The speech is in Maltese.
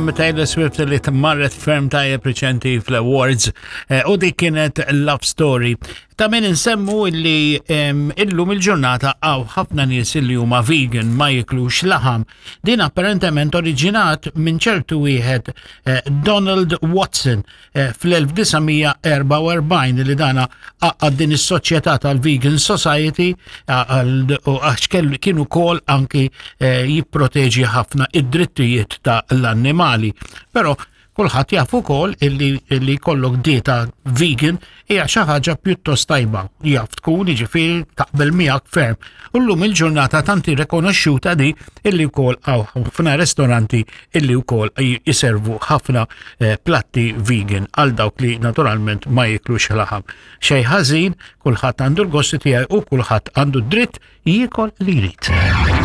hemm Taylor Swift li tmarret ferm tajjeb riċenti fl-awards eh, u dik kienet Love Story. Ta' min insemmu illi illum il-ġurnata għaw ħafna nies illi huma vegan ma jiklux laħam. Din apparentement oriġinat minn ċertu wieħed eh, Donald Watson eh, fl-1944 li dana għaqqad din is-soċjetà tal-Vegan Society għax kienu kol anki eh, jipproteġi ħafna id-drittijiet ta' l-annimali. Però kulħadd jaf ukoll illi illi jkollok dieta vegan hija xi ħaġa pjuttost tajba. Jaf tkun jiġifieri taqbel miegħek ferm. U llum il-ġurnata tant rikonoxxuta di illi wkoll hawn ħafna ristoranti illi wkoll jiservu ħafna eh, platti vegan għal dawk li naturalment ma jiklux laħam. Xejn ħażin, kulħadd għandu l-gosti tiegħu u kulħadd għandu dritt jiekol li jrid.